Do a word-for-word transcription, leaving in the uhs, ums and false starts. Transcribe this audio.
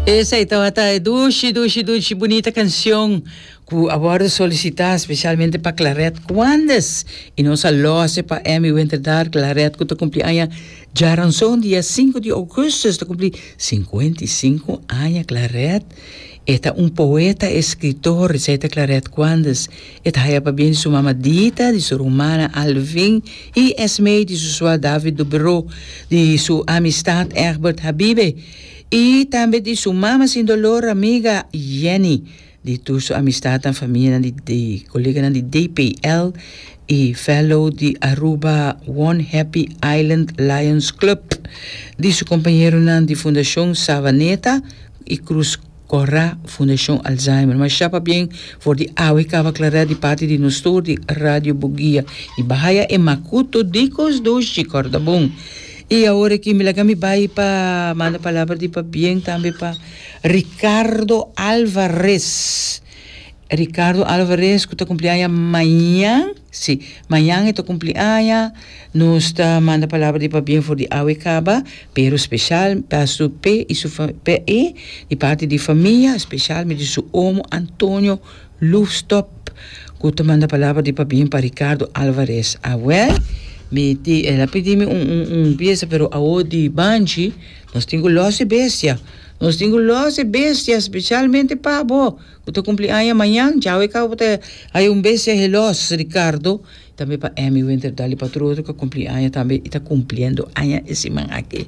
Esey tabata dushi, dushi, dushi, bunita cancion cu a wordo solicita specialmente pa Claret Quandes y nos a los e pa Emmy Winterdar. Claret cu ta cumpli aña diaranson, dia cinco di augustus, ta cumpli cincuenta y cinco aña Claret. E ta un poeta, escritor, esey ta Claret Quandes. E ta haya pabien di su mama Dita, di su ruman Alvin y Esme, di su swa David Dubro, di su amistad Egbert Habibe y tambe di su mama sin dolor, amiga Jenny, di tur su amistad y famia, di, di coleganan di D P L y fellow di Aruba One Happy Island Lions Club, di su compañeronan di Fundacion Savaneta y Cruz Cora Fundacion Alzheimer. Masha pabien for di awe caba, Claret, di parti di nos tur di Radio Bugia. Y bo haya e macuto di cos dushi, corda bon. Y awor aki mi laga mi bay pa manda palabra di pabien tambe pa Ricardo Alvarez. Ricardo Alvarez, cu ta cumpli aña mañan. Si, mañan e ta cumpli aña. Nos ta manda palabra di pabien for di awe caba, pero special pa su P y su P E di parti di famia, specialmente su omo Antonio Loefstop, cu ta manda palabra di pabien pa Ricardo Alvarez. Awel, mi ti, el a pidi mi un, un, un pieza, pero awo di Banchi, nos tin cu los e bestia. Nos tin cu los e bestia, specialmente pa bo cu ta cumpli aña mañan, djawe caba ta haya un bestia gelos, Ricardo. Tambe pa Emmy Winter Dali pa tur otro cu cumpli aña tambe y ta cumpliendo aña e siman aki.